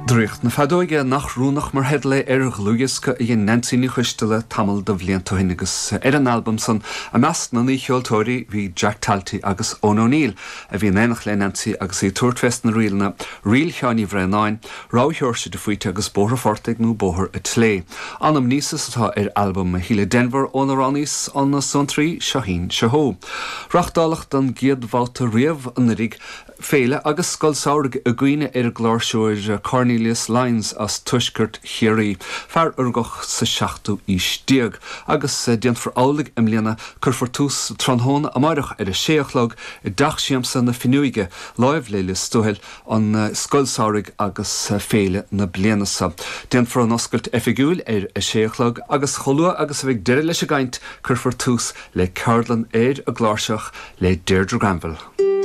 Draíocht na Feadóige, nach rúnach mar theideal é ar dhlúthdhiosca a dhein Neansaí Ní Choisteala tamall de bhlianta ó shin agus ar an albam san, i measc na n-aoicheoltóirí, bhí Jack Talty agus Eoin O'Neill, a bhí in éineacht le Neansaí agus í ag tabhairt fés na ríleanna, Ríl Sheáin Uí Bhraonáin, Rogha Sheoirse de Faoite agus Bóthar an Phortaigh nó Bóthar a' tSlé. Anamnesis atá ar albam Shíle Denvir ón amhránaí as na Suantraí, Seoithín Seothó. Reáchtáladh don gcéad bhabhta riamh anuraidh, Féile agus Scoil Samhraidh i gcuimhne ar an gcláirseoir Cornelius Lyons as tuaisceart Chiarraí, fear a rugadh sa seachtú aois déag, agus déanfar amhlaidh i mbliana, cuirfear tús tráthnóna amáireach ar a sé a chlog i dTeach Siamsa na Finneoige, láimh le Lios Tuathail, an Scoil Samhraidh agus Féile na bliana seo. Déanfar an oscailt oifigiúil ar a sé a chlog agus chomh luath agus a bheidh deireadh leis an gcaint, cuirfear tús le ceardlann ar an gcláirseach le Deirdre Granville.